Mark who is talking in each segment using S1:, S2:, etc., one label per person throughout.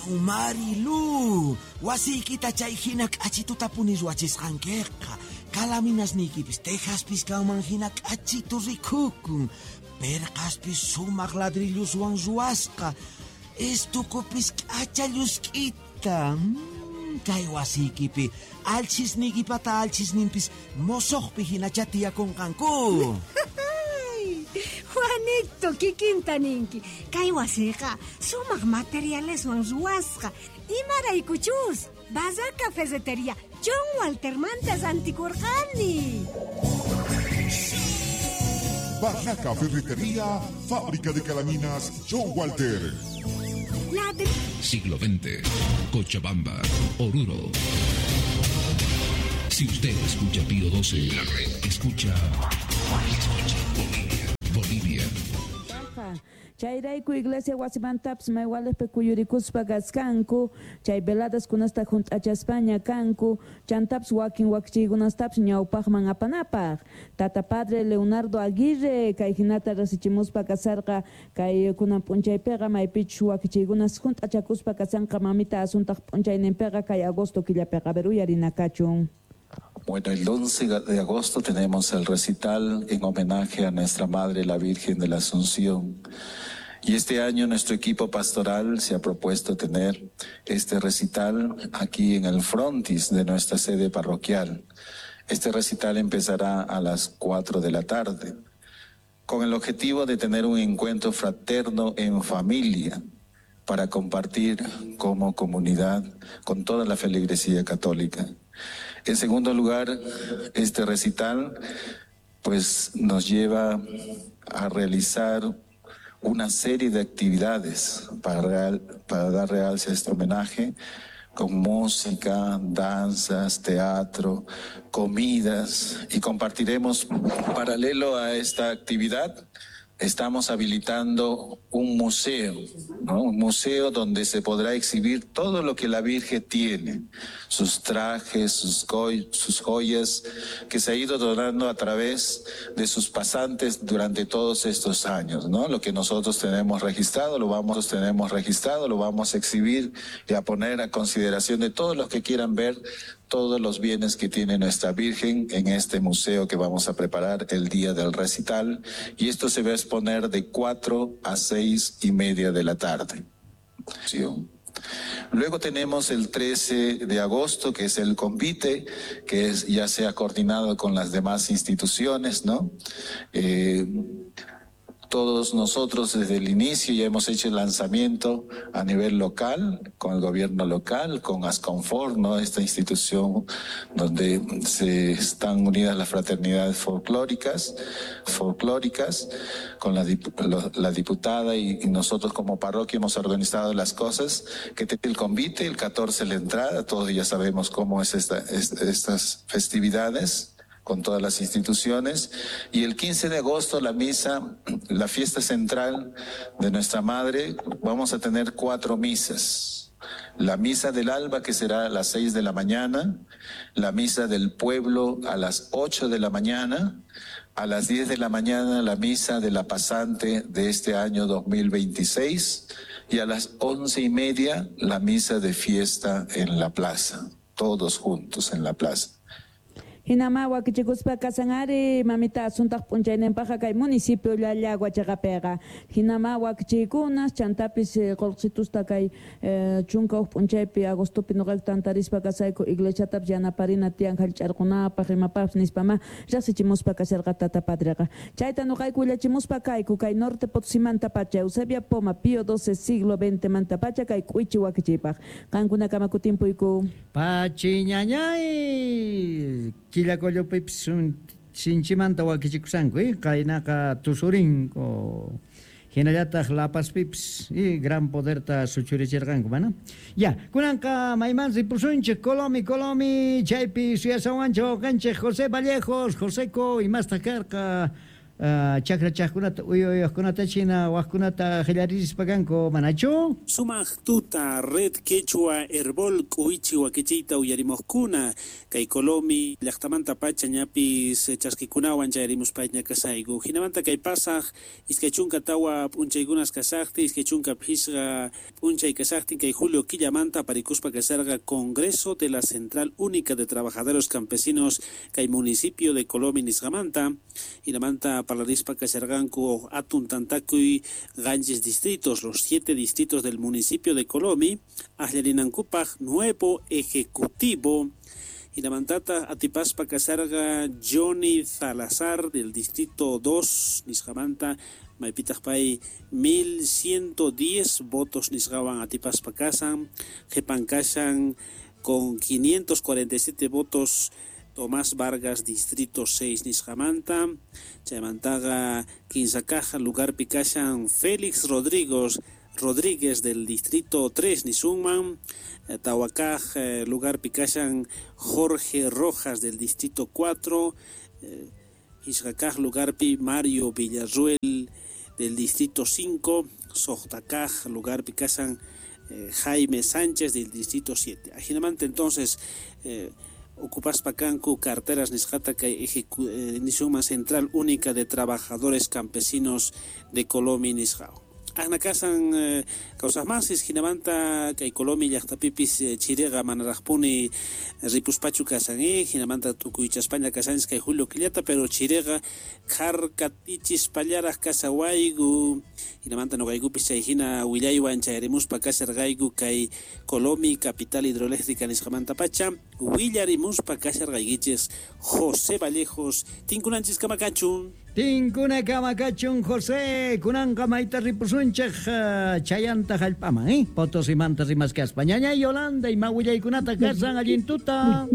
S1: Marilu, wasiykita chay hina k'achitutapuni ruwachisqankiqa. Calaminasniykipis tejaspis kanman hina k'achitu rikukun. Perqaspis sumaq ladrilloswan ruwasqa. Estukupis k'acha llusk'ita. Kay wasiykipi alchhisniykipata alchhisninpis mosoqpi hinachá tiyakunqanku.
S2: Juanito, kikinta ninki. Kay wasiqa sumaq materialeswan ruwasqa. Imaraykuchus Barraca Ferretería John Waltermanta rantikurqani.
S3: Barraca Ferretería, fábrica de calaminas John Walter.
S4: Siglo XX, Cochabamba, Oruro. Si usted escucha Pío 12, la red escucha. Escucha Bolivia. Bolivia.
S5: Chayrayku iglesia wasimantapis maywalejpi kuyurikuspa kaskanku, chay veladaskunasta junt'achaspaña kanku, chantapis wakin wakichiykunastapis ñawpaqman apanapaq. Tata padre Leonardo Aguirre kay hinata rasichimuspa kasarqa kay kunan p'unchaypiqa maypichus wakichiykunas junt'achakuspa kasanqa mamita asuntaq p'unchayninpiqa kay agosto killapiqa. A ver, uyarina kachun.
S6: Bueno, el 11 de agosto tenemos el recital en homenaje a nuestra Madre, la Virgen de la Asunción. Y este año nuestro equipo pastoral se ha propuesto tener este recital aquí en el frontis de nuestra sede parroquial. Este recital empezará a las 4 de la tarde, con el objetivo de tener un encuentro fraterno en familia para compartir como comunidad con toda la feligresía católica. En segundo lugar, este recital pues nos lleva a realizar una serie de actividades para dar realce a este homenaje, con música, danzas, teatro, comidas, y compartiremos. Paralelo a esta actividad, estamos habilitando un museo, ¿no? Un museo donde se podrá exhibir todo lo que la Virgen tiene, sus trajes, sus joyas, que se ha ido donando a través de sus pasantes durante todos estos años, ¿no? Lo que nosotros tenemos registrado, lo vamos a exhibir y a poner a consideración de todos los que quieran ver todos los bienes que tiene nuestra Virgen en este museo que vamos a preparar el día del recital, y esto se va a exponer de 4 a 6:30 de la tarde. ¿Sí? Luego tenemos el 13 de agosto, que es el convite, que es, ya se ha coordinado con las demás instituciones, ¿no? Todos nosotros desde el inicio ya hemos hecho el lanzamiento a nivel local, con el gobierno local, con Asconfort, ¿no? Esta institución donde se están unidas las fraternidades folclóricas, con la diputada y nosotros como parroquia hemos organizado las cosas, que el convite, el 14 la entrada, todos ya sabemos cómo es estas festividades con todas las instituciones, y el 15 de agosto la misa, la fiesta central de nuestra madre, vamos a tener 4 misas. La misa del alba, que será a las 6 de la mañana, la misa del pueblo a las 8 de la mañana, a las 10 de la mañana la misa de la pasante de este año 2026, y a las 11:30 la misa de fiesta en la plaza, todos juntos en la plaza.
S5: Hinama wakichikuspa kasanari mamita asuntaq p'unchayninpaqqa kay municipio Llallagua chaqapiqa. Hinama wakichiykunas chantapis qullqitusta kay 11 p'unchaypi agostopi nuqayku tantarispa kasayku iglesiatapis yanaparina tiyan hallch'arqunapaq imapaqpis nispama riqsichimuspa kasharqa tata padreqa. Chayta nuqayku willachimuspa kayku kay norte Potosimanta pacha Eusebia Poma Pío XII siglo XX manta pacha kay k'uichi wakichiypaq. Qankunakama kutimpuyku.
S7: Pachiñañay Quillacollopipis sinchimanta wakichikusanku, qaynaqa tusurinku hinallataq La Pazpipis y gran poderta suchurichirqanku, mana? Ya, kunanqa mayman ripusunchik Colomi, Colomi, chaypi suyasawanchik wawqanchik José Vallejos, Joseco imastaq karqa Chakrachaqkunata uyuyaqkunata china waqkunata qillaririspa kanku manachu?
S8: Sumaq tuta Red Quechua Herbol k'uwichi wakichiyta uyarimuqkuna kay Colomi llaqtamanta pacha ñapis chaskikunawan chayarimuspaña kasayku. Hinamanta kay pasaq 24 p'unchaykunas kasaqtin, 25 p'unchay kasaqtin kay julio killamanta aparikuspa kasarqa Congreso de la Central Única de Trabajadores Campesinos kay municipio de Colomi nisqamanta. Hinamanta parlarispa kasharqanku atun tantakuy ganchis distritos, los 7 distritos del municipio de Colomi, aklarinankupaq nuevo ejecutivo. Hinamantata atipaspa kasarqa Johnny Salazar del distrito 2 nisqamanta maypitaq pay 1110 votos nisqawan atipaspa kasan, qhipan kashan con 547 votos Tomás Vargas, distrito 6 nisqamanta. Chaymantaqa kinsakaq lugarpi kashan Félix Rodríguez del distrito 3 nisunman. Tawakaj lugarpi kashan Jorge Rojas del distrito 4. Isqakaj lugarpi Mario Villarruel del distrito 5. Soqtakaj lugarpi kashan Jaime Sánchez del distrito 7. Ajinamanta entonces ocupaspa kanku carteras nisqata kay nisunman Central Única de Trabajadores Campesinos de Colomi nisqaw. Ajna kasan kawsaqmasis hinamanta kay Colomi llaqtapipis chiriqa manaraqpuni ripuspachu kasan hinamanta tukuychaspaña kasanchis kay julio killata, pero chiriqa kharkatichispallaraq kasawayku. Hinamanta nuqaykupis chay hina willaywan chayarimuspa kasharqayku kay Colomi capital hidroeléctrica nisqamanta pacha willarimuspa kasharqaykichis. José Vallejos, tinkunanchis kamakachun.
S7: Tinkuna kamakachun José, kunanqa mayta ripusunchej chayanta hallp'aman, Potosimanta rimaskaspa. Ñañay Yolanda, ima willaykunata kasan allin tuta.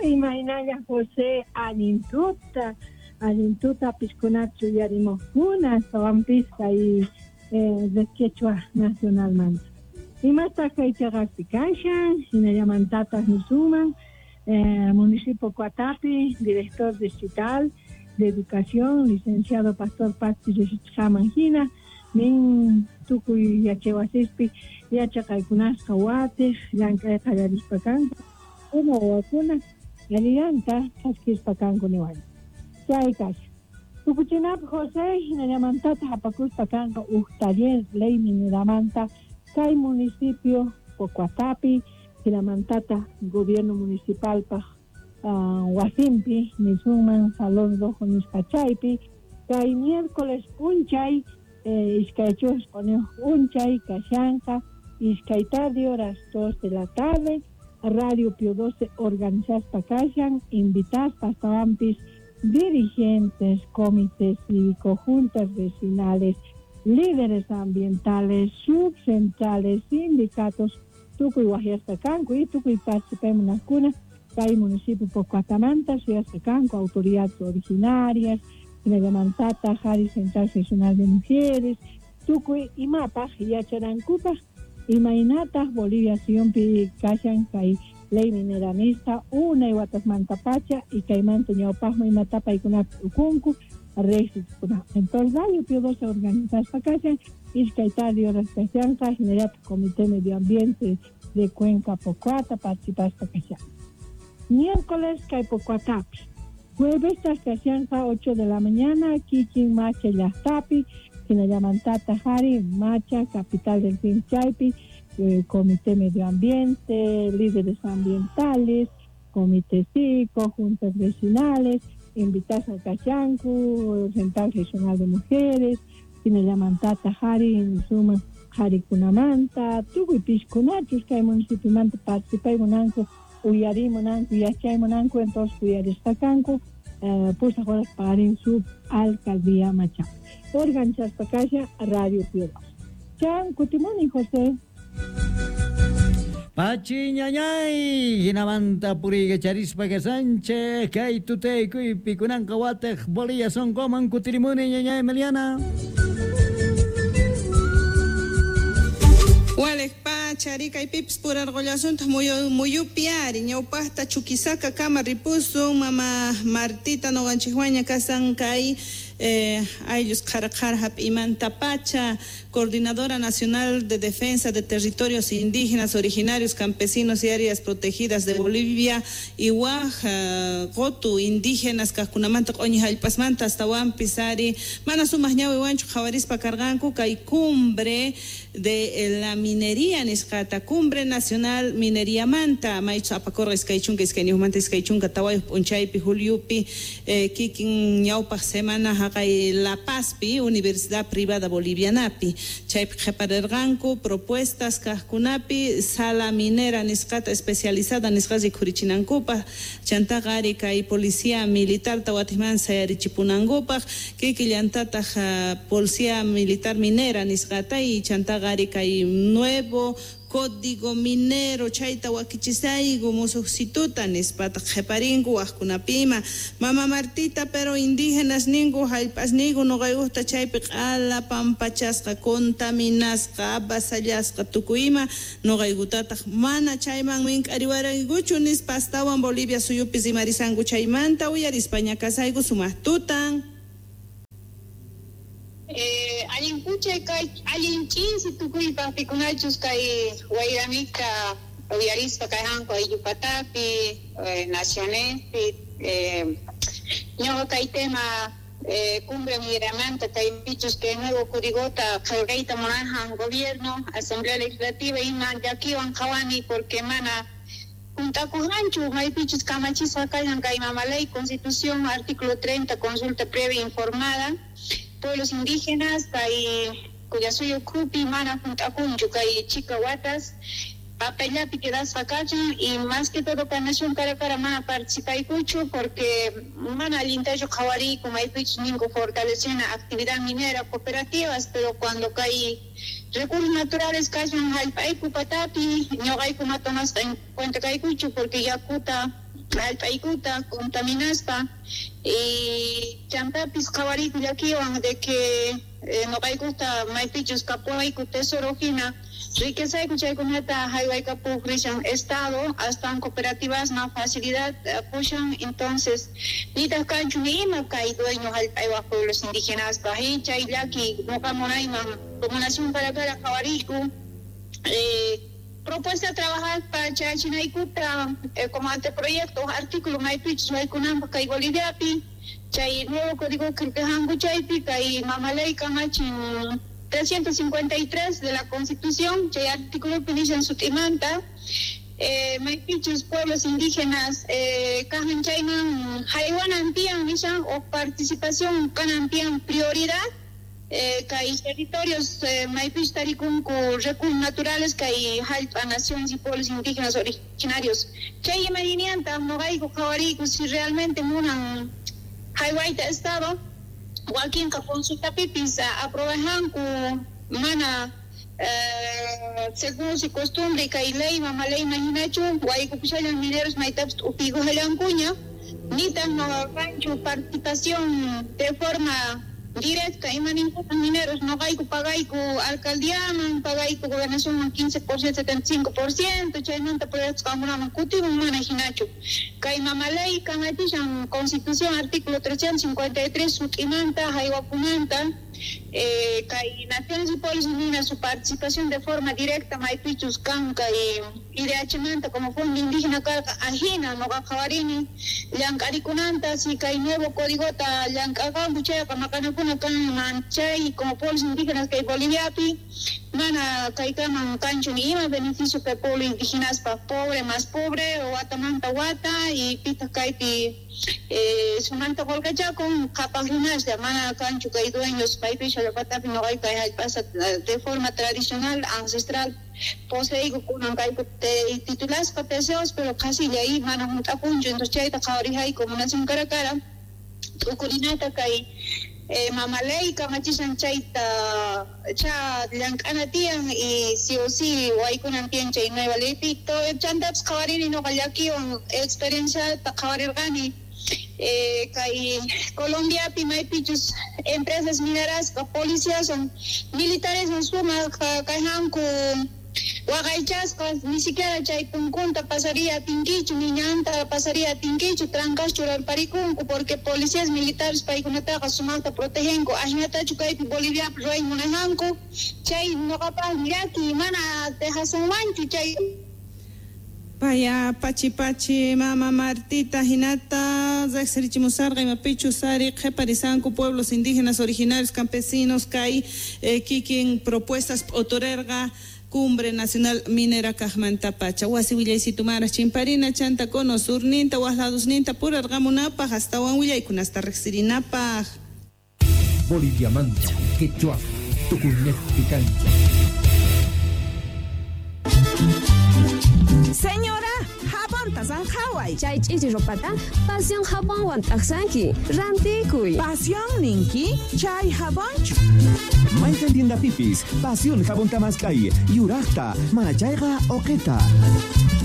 S9: Imaynalla José, allin tuta, allin tuta piskunachu yarimuqkuna, astawanpis kay Red Quechua Nacionalmanta. Imastaq kay chaqaspi kashan, hinallamantataq nisuman. Municipio Coatapi, director distrital de Educación, licenciado Pastor Pazzi Risichqaman hina, nin tukuy yachaywasispi yachaqaykunasqa watiq llank'ay qallarispa kanku, uma wawakuna allillanta chaskispa kanku niwanchik. Chay kashan. Tukuchinapaq José hinallamantataq apakuspa kanqa uj taller ley mineramanta kay municipio Pocoatapi, hinamantata gobierno municipalpaq wasinpi nisunman Salón Rojo nisqa chaypi kay miércoles p'unchay 2 p'unchay kashanqa iskay tarde horas 2 de la tarde Radio Pío 12 organizaspa kashan invitaspa astawanpis dirigentes, comités cívicos, juntas vecinales, líderes ambientales, subcentrales, sindicatos, tukuy wajyasqa kanku y tukuy participaymunaqkuna kay municipio Pocoatamanta suyasqa kanku autoridades originarias, hinallamantata Jari Central Regional de Mujeres, tukuy imapaq yachanankupaq imaynataq Bolivia suyunpi kashan kay ley mineranista unay watasmanta pacha y kaymanta ñawpaqman imata paykunapi ukunku riqsichikuna. Entonces Radio Pío 12 organizaspa kashan iskay tarde horas kashanqa hinallataq Comité Medio Ambiente de Cuenca Pocoata participaspa kashan. Miércoles kay Pocoatapi. Jueves kashanqa 8 de la mañana kikin Macha llaqtapi hinallamantata Jari Macha capital del fin chaypi Comité Medio Ambiente, líderes ambientales, comité cívico, juntas vecinales, invitas a kashanku, Central Regional de Mujeres, hinallamantata Jari suma Jarikunamanta, tukuy piskunachus kay municipiomanta participaymunanku, uyarimunanku, yachaymunanku, entonces uyarisqa kanku, pusaq horas paqarin sub alcaldía Macha. Organizaspa kasha Radio Pío 12. Chan kutimuni José.
S7: Pachi ñañay, hinamanta puriykacharispa kasanchej, kay tutaykuypi kunanqa watej Bolivia sonqoman kutirimuni ñañay Emiliana.
S10: Walej pachi. pacha, kaypipis purarqullasuntaq muyupi ari ñawpaqta Chuquisaca kama ripusun mama Martita nuqanchikwaña kasan kay ayllus qhara qhara hap'imanta pacha, Coordinadora Nacional de Defensa de Territorios Indígenas Originarios, Campesinos y Áreas Protegidas de Bolivia y waj qotu indígenas kaqkunamanta q'uñi hallp'asmanta astawanpis ari mana sumaq ñawiwanchu qhawarispa karqanku kay cumbre de la minería nisqata, Cumbre Nacional Mineriamanta maychus apakurqa 22 24 p'unchaypi juliupi kikin ñawpaq semana haqay La Pazpi Universidad Privada Bolivianapi chaypi qhiparirqanku propuestas kaqkunapi sala minera nisqata especializada nisqa rikhurichinankupaq chantaqa ari kay policía militarta watiqman sayarichipunankupaq kikillantataq policía militar minera nisqata y chantaqa ari kay nuevo código minero chayta wakichisayku musuqsituta nispata qhiparinku waqkunapima mama Martita, pero indígenas ninku hallp'asniyku nuqaykuqta chaypi q'ala pampachasqa contaminasqa avasallasqa tukuy ima nuqaykutataq mana chayman mink'ariwaraykuchu nispa astawan Bolivia suyupi rimarisanku chaymanta uyarispa ñakasayku sumaq tutan.
S11: Allin puchay kay allin ch'insi tukuypaq pikunachus kay wayramika uyarispa kayhanku ayllupatapi nacionespi ñuqa kay tema cumbre mineramanta kaypichus kay nuevo códigota qillqayta munajan gobierno asamblea legislativa ima llakiwan qhawani porque mana juntakujanchu maypichus kamachisqa kashan kay mama ley constitución artículo 30 consulta previa informada pueblos indígenas kay Qullasuyu ukhupi mana juntakunchu kay chika watas papellapi quedasqa kachan y más que todo kay nación Qhara Qhara mana participaykuchu porque mana allintachu qhawariyku maypichus ninku fortalecena actividad minera cooperativas pero cuando kay recursos naturales kashan hallp'ayku patapi ñuqayku ma tomasqa en cuenta kaykuchu porque yakuta hallp'aykuta contaminaspa y chantapis qhawariyku llakiwan de que nuqaykuta maypichus kapuwayku tesoro hina riquezayku chaykunata haywaykapuq rishan estado astawan cooperativasman facilidad pushan entonces nitaq kanchu ni ima kay dueño hallp'aywaq pueblos indígenaspaq y chay llaki nuqa munayman como nación Qhara Qhara qhawariyku propuesta trabajar para chayachinaykuta como anteproyecto artículo maypichus waykunanpaq kay Boliviapi chay nuevo código qillqajanku chaypi kay mama ley kamachin 353 de la Constitución chay artículopi nishan sut'imanta maypichus pueblos indígenas kajan chayman haywanan tiyan nishan o participación kanan tiyan prioridad kay territorios maypichus tarikunku recursos naturales kay hallp'a naciones y pueblos indígenas originarios chay imaynianta nuqayku qhawariyku si realmente munan haywayta estado wakinqa consultapipis aprobajanku mana según su costumbre kay ley mama ley hinachu waykupushallan mineros maytapis t'upiykujallankuña nitaq kanchu participación de forma directa imaninkutan mineros nuqayku pagayku alcaldiaman pagayku gobernacionman 15%, 75% chaymanta proyectos qamkunaman kutimun mana hinachu kay mama ley kamachishan constitución artículo 353 sut'imanta haywakunanta kay naciones y pueblos indígenas su participación de forma directa maypichus kan kay IDH manta como fondo indígena karqa ajina nuqa qhawarini llank'arikunanta si kay nuevo códigota llank'aqanku chayqa maqanakuna kanman chay como pueblos indígenas kay Boliviapi mana kaykaman kanchu ni ima beneficio kay pueblo indígenaspaq pobre más pobre watamanta wata y pitaq kaypi sumanta qullqachakun qhapaq runaslla mana kanchu kay dueños maypichu llaqtapi nuqayku kay hallp'asa de forma tradicional ancestral poseyku kunan kayku titulasqa TCOs pero qhasilla y mana hunt'akunchu entonces chayta qhawarihayku nación Qhara Qhara t'ukurinata kay mama ley kamachishan chayta cha llank'ana tiyan y sí o sí waykunan tiyan chay nueva leypi chantapis qhawarini nuqa llakiwan experienciata qhawarirqani kay Colombiapi maypichus empresas minerasqa policías son militares sumaq kayhanku Waqaychasqas ni siquiera chay punkunta pasaría atinkichu, ni ñanta pasaría atinkichu, trancas churarparikunku porque policías militares paykunataqa sumaqta protegenku, ajinatachu kaypi Boliviapi ruway munajanku, chay noqapaq llaki mana dejasunmanchu chay.
S10: Paya pachi pachi mama Martita hinata riqsirichimusarqa imapichu sari qhiparisanku pueblos indígenas originarios campesinos kay kikin propuestas p'uturerqa Cumbre Nacional Minera kaqmanta pacha wasi willaysitumara chimparina chanta cono surninta waqladusninta purarqamunapaq astawan willaykunasta riqsirinapaq.
S4: Boliviamanta Quechua Tukuynejpi kancha.
S12: Señora, jabonta zanjaway.
S13: Chay ch'iri ropata Pasión jabonwan t'aqsanki. Rantikuy.
S12: Pasión ninki, chay jabonchu.
S14: Mayqan tiendapipis, Pasión jabón tamaskay, yuraqta, manachayqa oqeta.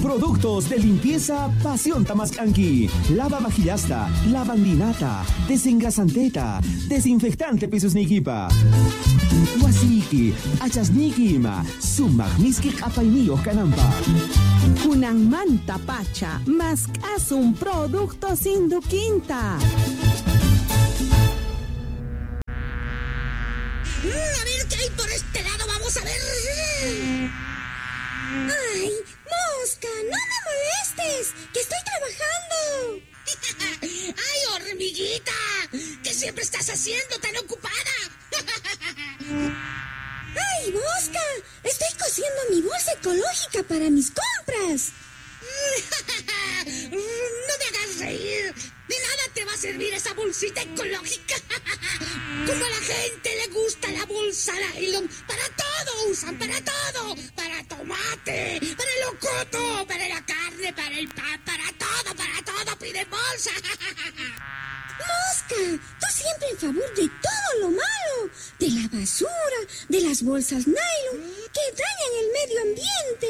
S14: Productos de limpieza Pasión Tamaskanki. Lava vajillasta, lavandinata, desengrasanteta, desinfectante pisusnikipa. Wasiki, achasniki ima, sumaq miski q'apayniyuq kananpaq.
S12: Kunanmanta pacha, mask'asun productos Induquinta.
S15: A ver qué hay por este lado, vamos a ver.
S2: ¡Ay, mosca! ¡No me molestes! ¡Que estoy trabajando!
S15: ¡Ay, hormiguita! ¿Qué siempre estás haciendo tan ocupada?
S2: ¡Ay, mosca! Estoy cosiendo mi bolsa ecológica para mis compras.
S15: ¡No me hagas reír! ¡De nada te va a servir esa bolsita ecológica! Como a la gente le gusta la bolsa nylon, para todo usan, para todo. Para tomate, para el locoto, para la carne, para el pan, para todo piden bolsa.
S2: ¡Mosca! Tú siempre en favor de todo lo malo, de la basura, de las bolsas nylon, que dañan el medio ambiente.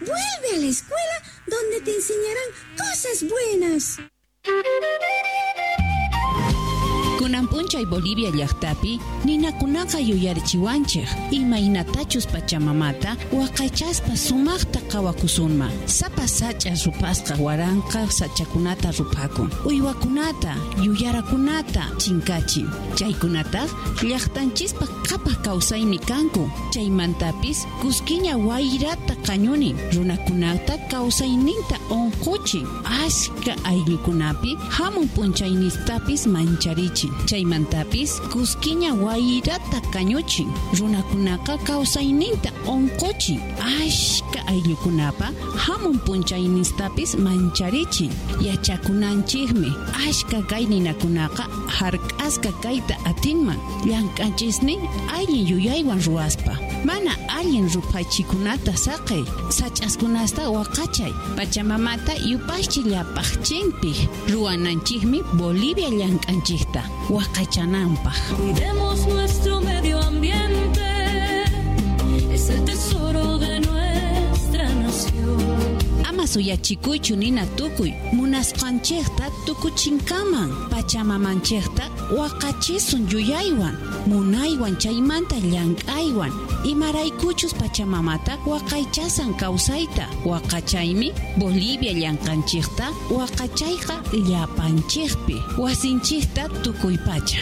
S2: Vuelve a la escuela donde te enseñarán cosas buenas.
S16: Kunan p'unchay Bolivia llaqtapi ninakunaqa yuyarichiwanchik imaynatachus pachamamata waqaychaspa sumaqta qhawakusunman. Sapa sach'a rupasqa waranqa sachakunata ruphakun, uywakunata, yuyarakunata chinkachin. Chaykunataq llaqtanchispa qhapaq kawsaymi kanku. Chaymantapis kuskiña wayrata qañunin, runakunata kawsayninta unquchin, ashka ayllukunapi hamun p'unchaynistapis mancharichin. Chaymantapis kuskiña wayrata kañuchin, runakunaqa kawsayninta unquchin, ashka ayllukunapa hamun p'unchaynistapis mancharichin. Yachakunanchikmi ashka kay ninakunaqa hark'asqa kayta atinman llank'anchisnin allin yuyaywan ruwaspa. Mana allin ruphachikunata saqey, sach'askunasta waqachay, pachamamata yupaychi llapaqchinpi. Ruwananchikmi Bolivia llank'anchikta waqachananpaq.
S17: Cuidemos nuestro medio ambiente, es el tesoro de nuestra nación.
S16: Ama suyachikuychu nina tukuy, munasqanchikta tukuchinkaman, pachamamanchikta waqachisun yuyaywan, munaywan chaymanta llank'aywan, imaraykuchus pachamamata waqaychasan kawsayta, waqachaymi Bolivia llank'anchikta waqachayqa llapanchikpi, wasinchikta tukuypacha.